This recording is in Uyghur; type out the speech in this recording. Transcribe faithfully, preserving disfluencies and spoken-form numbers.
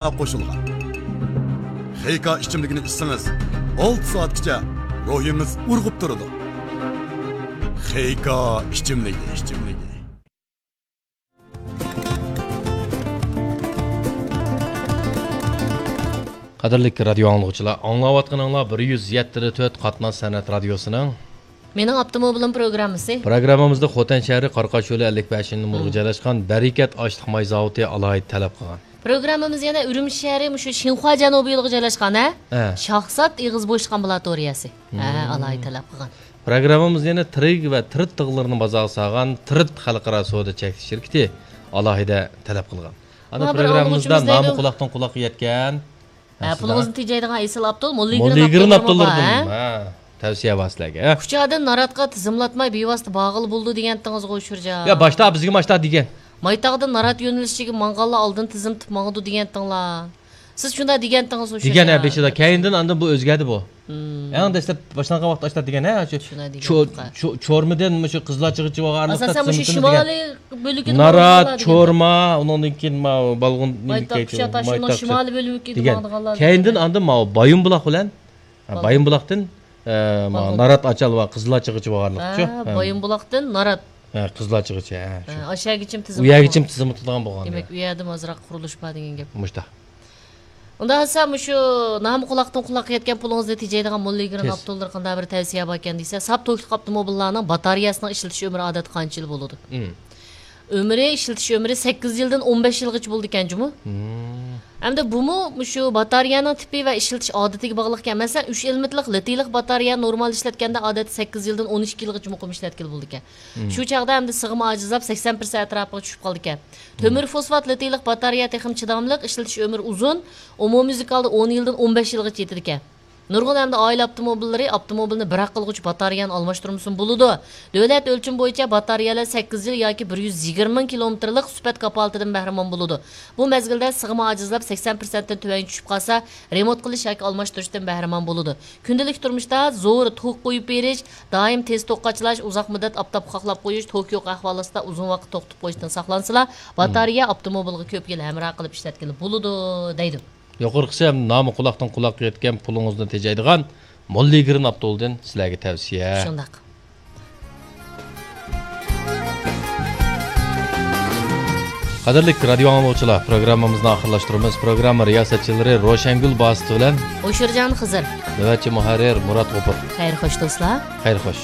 قوشۇلغان. خېيكا ئىچىملىكىنى ئىچسىڭىز، ئالتە سائەتكىچە روھىڭىز ئۇرغۇپ تۇرىدۇ. خېيكا ئىچىملىكى، ئىچىملىكى. قەدىرلىك رادىيو ئاڭلىغۇچىلار، ئاڭلاۋاتقىنىڭلار بىر يۈز يەتتە تۆت قاتناش سەنئەت رادىيوسىنىڭ مېنىڭ ئاپتوموبىلىم پروگراممىسى. پروگراممىمىزدا خوتەن شەھىرى قارقاش يولى ئەللىك بەشىنچى نومۇرغا جايلاشقان بەرىكەت ئاشلىق ماي زاۋۇتى ئالاھىدە تەلەپ قىلغان. پروگراممىمىز يەنە ئۈرۈمچى شەھىرى مۇشۇ شىنخۇا جەنۇبىي يولىغا جايلاشقان، ھە؟ ھە. شاخسات ئېغىز بوشلۇق ئامبۇلاتورىيەسى. ھە، ئالاھىدە تەلەپ قىلغان. پروگراممىمىز يەنە ترىگ ۋە ترىت تىغلىرىنى بازارغا سالغان ترىت خەلقئارا سودا چەكلىك شىركىتى ئالاھىدە تەلەپ قىلغان. ئانا، مانا بىر پروگراممىمىزدا ئاڭلىغۇچىمىز نامى دەيدۇ. قۇلاقتىن قۇلاققا يەتكەن. ھە، ھە، پۇلىڭىزنى تېجەيدىغان ئېسىل ئاپتول، موللىگرېن موللىگرېن ئاپتوللىرىدىن ئاپتوللىرىدىن، بار، ھە؟ ھە، تەۋسىيە بار سىلەرگە، ھە؟ كۇچادىن ناراتقا تىزىملاتماي بىۋاسىتە بارغىلى بولىدۇ دېگەنتىڭىزغۇ، شۇرجان. يا، باشتا بىزگە ماشتا دېگەن. مايتاغدىن نارات يۆنىلىشىگە ماڭغانلار ئالدىن تىزىملىتىپ ماڭىدۇ دېگەنتىڭلار. سىز شۇنداق دېگەنتىڭىزغۇ، دېگەن، ھە، شۇرجان. بېشىدا. كەينىدىن ئاندىن بۇ ئۆزگەردى بۇ. مم. ئەڭ دەسلەپ باشلانغان ۋاقىتتا ئاشۇنداق دېگەن، ھە، شۇ شۇنداق چو-، دېگەن. چو-، چورمىدىن مۇشۇ قىزىلارچىغىچە بارغانلىقتا ئاساسەن مۇشۇ تىزىملىتىمىز دېگەن. شىمالىي بۆلىكىدە نارات، ماڭىدىغانلار دېگەن. چورما، ئۇنىڭدىن كېيىن ماۋۇ بالغۇن، مايتاق، نېمە، كۇچا تاشيولنىڭ مايتاق، شىمالىي بۆلىكىدە دېگەن. ماڭىدىغانلار كەينىدىن دېگەن. ئاندىن ماۋۇ بايىنبۇلاق بىلەن، ھە، بالغۇن. بايىنبۇلاقتىن، ئە، ماۋۇ بالغۇن. نارات ئاچال ۋە قىزىلارچىغىچە بارغانلىقتا شۇ. ھە، ھە. بايىنبۇلاقتىن نارات. ھە، قىزىلارچىغىچە، ھە، شۇ. ھە، ئاشۇ يەرگىچىمۇ تىزىم ئۇ يەرگىچىمۇ تىزىملىتىدىغان بولغان. دېمەك، ئۇ يەردىمۇ ئازراق قۇرۇلۇش بار دېگەن گەپ. مۇشۇنداق. ئۇنداق بولسا، مۇشۇ نامى قۇلاقتىن قۇلاققا يەتكەن پۇلىڭىزنى تېجەيدىغان موللىگرېن تېز. ئاپتوللىرى قانداق بىر تەۋسىيە باركەن دېسە، ساپ توكلۇق ئاپتوموبىللارنىڭ باتارېيەسىنىڭ ئىشلىتىش ئۆمرى ئادەتتە قانچە يىل بولىدۇ؟ مم. ئۆمرى، ئىشلىتىش ئۆمرى سەككىز يىلدىن ئون بەش يىلغىچە بولىدىكەن جۇمۇ. مم. ئەمدى بۇمۇ مۇشۇ باتارېيەنىڭ تىپى ۋە ئىشلىتىش ئادىتىگە باغلىقكەن. مەسىلەن، ئۈچ ئېلېمېنتلىق لىتىيلىق باتارېيە نورمال ئىشلەتكەندە ئادەتتە سەككىز يىلدىن ئون ئىككى يىلغىچە مۇقىم ئىشلەتكىلى بولىدىكەن. مم. شۇ چاغدا ئەمدى سىغىمى ئاجىزلاپ، سەكسەن پىرسەنت ئەتراپىغا چۈشۈپ قالىدىكەن. تۆمۈر فوسفات لىتىيلىق باتارېيە تېخىمۇ چىداملىق، ئىشلىتىش ئۆمرى ئۇزۇن، ئومۇميۈزلۈك ھالدا ئون يىلدىن ئون بەش يىلغىچە يېتىدىكەن. نۇرغۇن ئەمدى ئائىلە ئاپتوموبىللىرى ئاپتوموبىلنى بىر ھەق قىلغۇچە باتارېيەنى ئالماشتۇرمىسىمۇ بولىدۇ. دۆلەت ئۆلچىمى بويىچە باتارېيەلەر سەككىز يىل ياكى بىر يۈز يىگىرمە مىڭ كىلومېتىرلىق سۈپەت كاپالىتىدىن بەھرىمەن بولىدۇ. بۇ مەزگىلدە سىغىمى ئاجىزلاپ، سەكسەن پىرسەنتتىن تۆۋەنگە چۈشۈپ قالسا، رېمونت قىلىش ياكى ئالماشتۇرۇشتىن بەھرىمەن بولىدۇ. كۈندىلىك تۇرمۇشتا زور توك قويۇپ بېرىش، دائىم تېز توك قاچىلاش، ئۇزاق مۇددەت ئاپتاپقا قاقلاپ قويۇش، توك يوق ئەھۋال ئاستىدا ئۇزۇن ۋاقىت توختىتىپ قويۇشتىن ساقلانسىلا، باتارېيە ئاپتوموبىلغا كۆپ يىل ھەمراھ قىلىپ ئىشلەتكىلى بولىدۇ، دەيدۇ. يۇقىرىقىسى ھەم نامى قۇلاقتىن قۇلاققا يەتكەن، پۇلىڭىزنى تېجەيدىغان موللىگرېن ئاپتولدىن سىلەرگە تەۋسىيە. شۇنداق. قەدىرلىك رادىيو ئاڭلىغۇچىلار، پروگراممىمىزنى ئاخىرلاشتۇرىمىز. پروگرامما رىياسەتچىلىرى روشەنگۈل باسىت بىلەن ھوشۇرجان خىزىر. نۆۋەتچى مۇھەررىر مۇرات غوپۇر. خەير خوش دوستلار. خەير خوش.